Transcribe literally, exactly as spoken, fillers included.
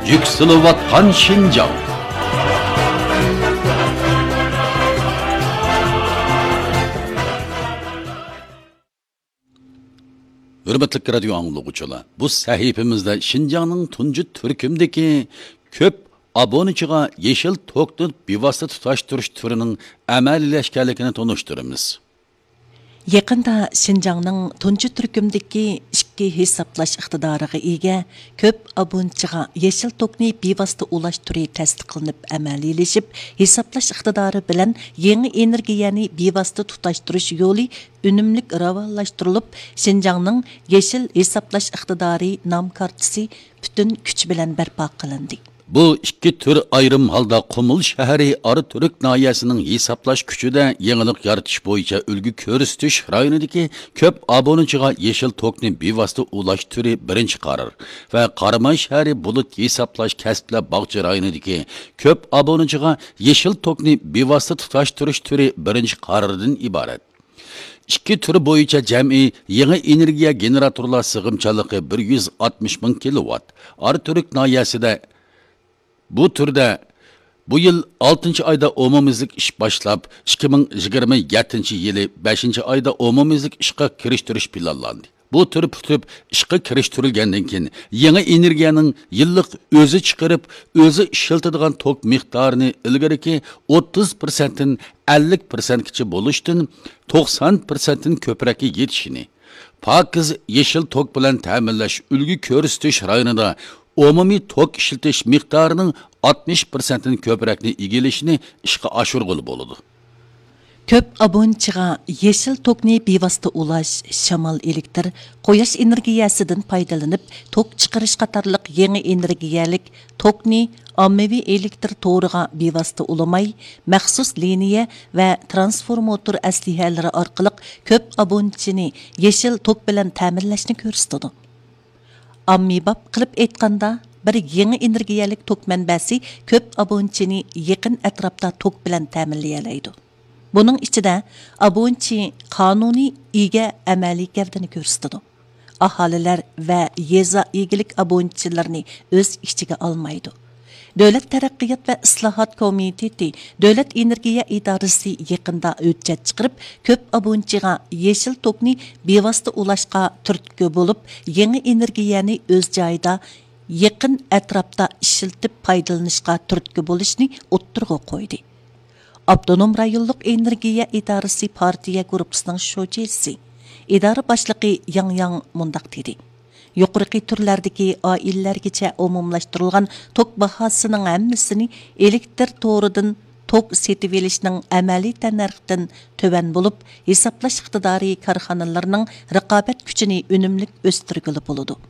يۈكسىلىۋاتقان شىنجاڭ. ھۆرمەتلىك رادىيو ئاڭلىغۇچىلار، بۇ سەھىپىمىزدە شىنجاڭنىڭ تۇنجى تۈركۈمدىكى كۆپ ئابۇنىچىغا يېشىل توكنى بىۋاسىتە تۇتاشتۇرۇش تۈرىنىڭ ئەمەلىيلەشكەنلىكىنى تونۇشتۇرىمىز. يېقىندا شىنجاڭنىڭ تۇنجى تۈركۈمدىكى ئىككى ھېسابلاش ئىقتىدارىغا ئىگە كۆپ ئابۇنىچىغا يېشىل توكنى بىۋاسىتە ئۇلاش تۈرى تەستىقلىنىپ ئەمەلىيلىشىپ، ھېسابلاش ئىقتىدارى بىلەن يېڭى ئېنېرگىيەنى بىۋاسىتە تۇتاشتۇرۇش يولى ئۈنۈملۈك راۋانلاشتۇرۇلۇپ، شىنجاڭنىڭ يېشىل ھېسابلاش ئىقتىدارى نام كارتىسى پۈتۈن كۈچ بىلەن بەرپا قىلىندى. بۇ ئىككى تۈر ئايرىم ھالدا قۇمۇل شەھىرى ئاراتۈرك ناھىيەسىنىڭ ھېسابلاش كۈچىدە يېڭىلىق يارىتىش بويىچە ئۈلگە كۆرسىتىش رايونىدىكى كۆپ ئابۇنىچىغا يېشىل توكنى بىۋاسىتە ئۇلاش تۈرى بىرىنچى قارار ۋە قاراماي شەھىرى بۇلۇت ھېسابلاش كەسىپلەر باغچە رايونىدىكى كۆپ ئابۇنىچىغا يېشىل توكنى بىۋاسىتە تۇتاشتۇرۇش تۈرى بىرىنچى قاراردىن ئىبارەت. ئىككى تۈر بويىچە جەمئىي يېڭى ئېنېرگىيە گېنېراتورلار سىغىمچانلىقى بىر يۈز ئاتمىش مىڭ كىلوۋات. ئاراتۈرك ناھىيەسىدە بۇ تۈردە بۇ يىل ئالتىنچى ئايدا ئومۇميۈزلۈك ئىش باشلاپ، ئىككى مىڭ يىگىرمە يەتتىنچى يىلى بەشىنچى ئايدا ئومۇميۈزلۈك ئىشقا كىرىشتۈرۈش پىلانلاندى. بۇ تۈر پۈتۈپ ئىشقا كىرىشتۈرۈلگەندىن كېيىن، يېڭى ئېنېرگىيەنىڭ يىللىق ئۆزى چىقىرىپ، ئۆزى ئىشلىتىدىغان توك مىقدارىنى ئىلگىرىكى ئوتتۇز پىرسەنتتىن ئەللىك پىرسەنتكىچە بولۇشتىن توقسان پىرسەنتتىن كۆپرەككە يېتىشىنى، پاكىز يېشىل توك بىلەن تەمىنلەش ئۈلگە كۆرسىتىش رايونىدا ئومۇمىي توك ئىشلىتىش مىقدارىنىڭ ئاتمىش پىرسەنتتىن كۆپرەكنى ئىگىلىشىنى ئىشقا ئاشۇرغىلى بولىدۇ. كۆپ ئابۇنىچىغا يېشىل توكنى بىۋاسىتە ئۇلاش، شامال ئېلېكتىر، قۇياش ئېنېرگىيەسىدىن پايدىلىنىپ توك چىقىرىش قاتارلىق يېڭى ئېنېرگىيەلىك توكنى ئاممىۋى ئېلېكتىر تورىغا بىۋاسىتە ئۇلىماي، مەخسۇس لىنىيە ۋە ترانسفورماتور ئەسلىھەلىرى ئارقىلىق كۆپ ئابۇنىچىنى يېشىل توك بىلەن تەمىنلەشنى كۆرسىتىدۇ. ئاممىباب قىلىپ ئېيتقاندا، بىر يېڭى ئېنېرگىيەلىك توك مەنبەسى كۆپ ئابۇنىچىنى يېقىن ئەتراپتا توك بىلەن تەمىنلىيەلەيدۇ. بۇنىڭ ئىچىدە ئابۇنىچى قانۇنىي ئىگە ئەمەلىي گەۋدىنى كۆرسىتىدۇ. ئاھالىلەر ۋە يېزا ئىگىلىك ئابۇنىچىلىرىنى ئۆز ئىچىگە ئالمايدۇ. دۆلەت تەرەققىيات ۋە ئىسلاھات كومىتېتى، دۆلەت ئېنېرگىيە ئىدارىسى يېقىندا ھۆججەت چىقىرىپ، كۆپ ئابۇنىچىغا يېشىل توكنى بىۋاسىتە ئۇلاشقا تۈرتكە بولۇپ، يېڭى ئېنېرگىيەنى ئۆز جايىدا، يېقىن ئەتراپتا ئىشلىتىپ پايدىلىنىشقا تۈرتكە بولۇشنى ئوتتۇرىغا قويدى. ئاپتونوم رايونلۇق ئېنېرگىيە ئىدارىسى پارتىيە گۇرۇپپىسىنىڭ شۇجىسى، ئىدارە باشلىقى ياڭ ياڭ مۇنداق دېدى: يۇقىرىقى تۈرلەردىكى ئائىلىلەرگىچە ئومۇملاشتۇرۇلغان توك باھاسىنىڭ ھەممىسىنى ئېلېكتىر تورىدىن توك سېتىۋېلىشنىڭ ئەمەلىي تەننەرختىن تۆۋەن بولۇپ، ھېسابلاش ئىقتىدارى كارخانىلىرىنىڭ رىقابەت كۈچىنى ئۈنۈملۈك ئۆستۈرگىلى بولىدۇ.